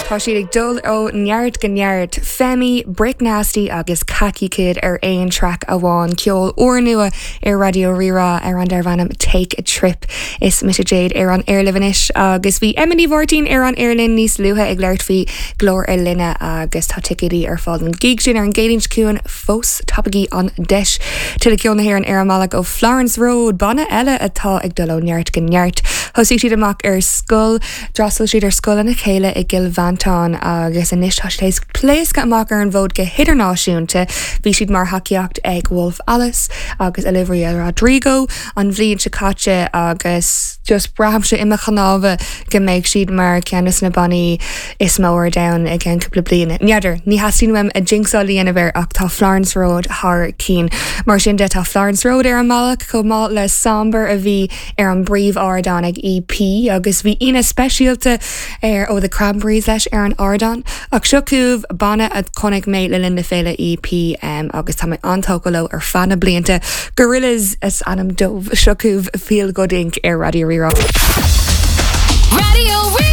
Tá siad ag dul ó neart go neart, Femi, Brick Nasty agus Khaki Kid ar aon traic amháin. Ceol úrnua ar Raidió Rí-Rá ar an darbh ainm Take a Trip. Is mise Jade ar an aer libh anois agus bhí Emma Ní Mháirtín ar an aer linn níos luaithe ag labhairt faoi Glór na Linne agus tá ticéidí ar fáil don gig sin ar an gCéadaoin seo chugainn fós. Tapaígí an deis. Tuilleadh ceol na hÉireann ar an mbealach ó Florence Road, banna eile atá ag dul ó neart go neart. Thosaigh siad amach ar scoil. D'fhreastail siad ar scoil lena chéile i gCill Mhantáin agus anois tá siad théis pléascadh amach ar an bhfód go hidirnáisiúnta. Bhí siad mar thacaíocht ag Wolf Alice agus Olivia Rodrigo an bhliain seo caite agus just braithimse i mo chnámha go mbeidh siad mar ceann de na bannaí is mó ar domhan i gceann cúpla bliain. N'fheadar, ní theastaíonn uaim jinxáil a dhéanamh air ach tá Florence Road thar cinn. Mar sin de tá Florence Road ar an mbealach chomh maith le Somber a bhí ar an bpríomh-ardán ag EP agus bhí aíonna speisialta ar ó The Cranberries leis ar an ardán. Ach seo chugaibh banna a chonaic mé le linn na féile EP agus tá mé an-tógtha leo ar feadh na blianta, Gorillaz is ainm dóibh. Seo chugaibh Feel Good Inc ar Raidió Rí-Rá. Raidió Rí-Rá.